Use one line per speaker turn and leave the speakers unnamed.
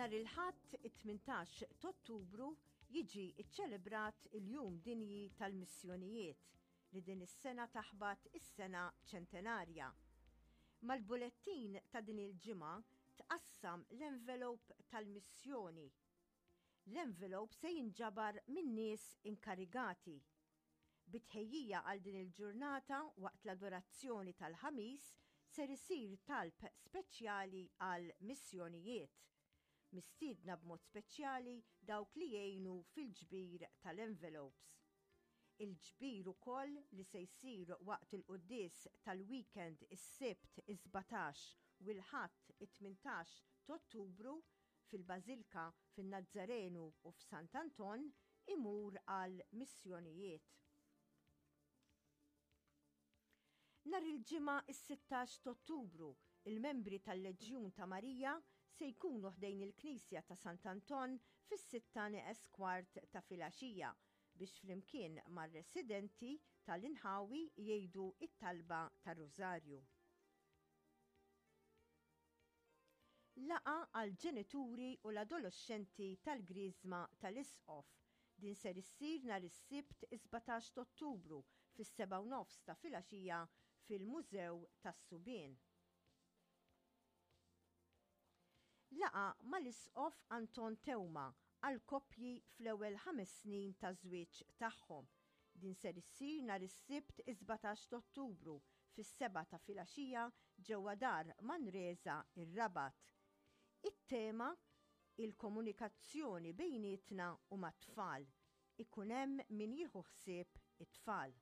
Nhar il-Ħadd it-18 t'Ottubru jiġi ċċelebrat il-Jum Dinji tal-Missjonijiet li din is-sena taħbat is-sena ċentenarja. Mal-bulettin ta' din il-ġimgħa tqassam l-envelope tal-missjoni. L-envelope se jinġabar min-nies inkarigati. Bi tħejjija għal din il-ġurnata waqt l-adorazzjoni tal-Ħamis ser isir talb speċjali għal missjonijiet. Mistiedna b'mod speċjali dawk li jgħinu fil-ġbir tal-envelopes. Il-ġbir ukoll li se jsir waqt il-quddies tal-weekend is-Sibt is-17 u l-Ħadd it-18 t'Ottubru fil-Bażilka fin-Nazzarenu u f'Sant'Anton imur għal missjonijiet. Nhar il-Ġimgħa is-16 t'Ottubru, il-membri tal-Leġjun ta' Marija se jkunu ħdejn il-Knisja ta' Sant'Anton fis-sitta neqes kwart ta' filgħaxija biex flimkien mar-residenti tal-inħawi jgħidu it-talba tar-Rużarju. Laqgħa għall-ġenituri u l-adoloxxenti tal-Griżma tal-Isqof. Din ser issir nhar is-Sibt is-17 t'Ottubru fis-sebgħa u nofs ta' filgħaxija fil-Mużew tas-Subien. Laqgħa mal-Isqof Anton Teuma għall-koppji fl-ewwel ħames snin taż-żwieġ tagħhom. Din ser issir nhar is-Sibt is-17 t'Ottubru fis-sebgħa ta' filgħaxija ġewwa Dar Manresa ir-Rabat. It-tema Il-komunikazzjoni bejnietna u mat-tfal. Ikun hemm min jieħu ħsieb it-tfal.